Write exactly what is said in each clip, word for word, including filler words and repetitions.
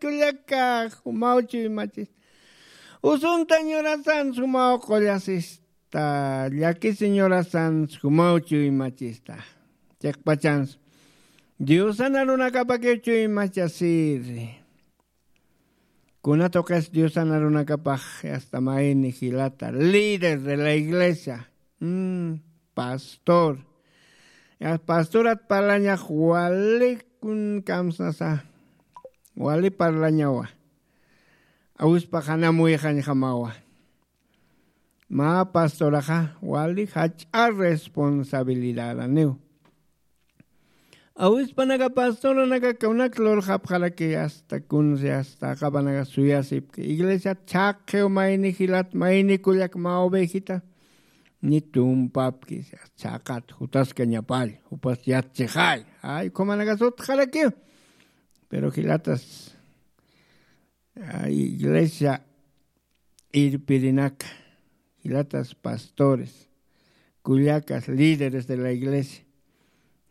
Kullaka, jumaw chuymachista. Usunta ñurasan jumaw qullasista. Llakisi ñurasan jumaw chuymachista. Chiqpachans. Diosana runakapakiw chuymachasiri. Kuna tuqis Diosana runakapax hasta mayni jilata, líder de la iglesia, mm, pastor. Ya pastorat parlañax wali kun kamsnasa, wali parlañawa. Awispaxanam wixañjamawa. Mä pastoraxa wali jach'a responsabilidadaniw. Awispanaka pastoranaka kunak lurxapxaraki hasta kunsi hasta aqapanaka suyasipki. Iglesiat chhaqqiw mayni jilat mayni kullak mä ovejita. Ni tumpapki chhaqat jutaskañapall jupas yatchixay. Ay, ukhamanaka sutxarakiw. Pero jilatas iglesia irpirinaka, jilatas pastores, kullakas líderes de la iglesia,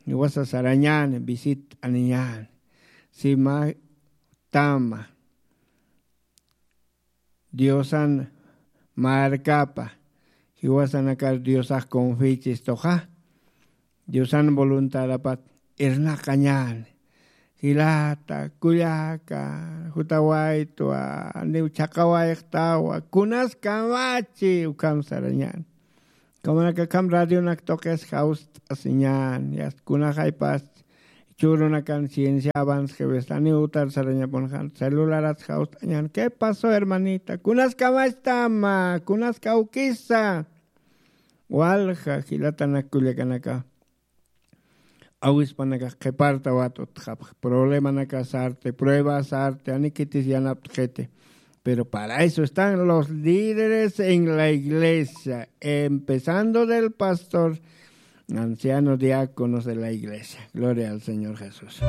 jiwasa sarañäni, visit'aniñäni, sima tama, Diosan markapa, jiwasanakar Diosax confichistuxa, Diosan voluntadapat irnaqañäni. Jilata, kullaka, jutawaytwa, niw chhaqawayxtawa, kunas kamachi, ukham sarañäni. Kamanakakham radionak tuqis jawst'asiñäni, yast kunaxaypas, churunakan ciencia avance jewistaniw utar sarañapunxan, celularat jawst'añäni. ¿Qué pasó, hermanita? Kunas kamachtama, kunas kawkisa. Walja, jilatanak kullakanaka. Awispanakax qhiparta wat'utxapx, problemanaka sarti, prueba sarti, ani khitis yanapt'xiti. Pero para eso están los líderes en la iglesia, empezando del pastor, anciano, diáconos de la iglesia. Gloria al Señor Jesús.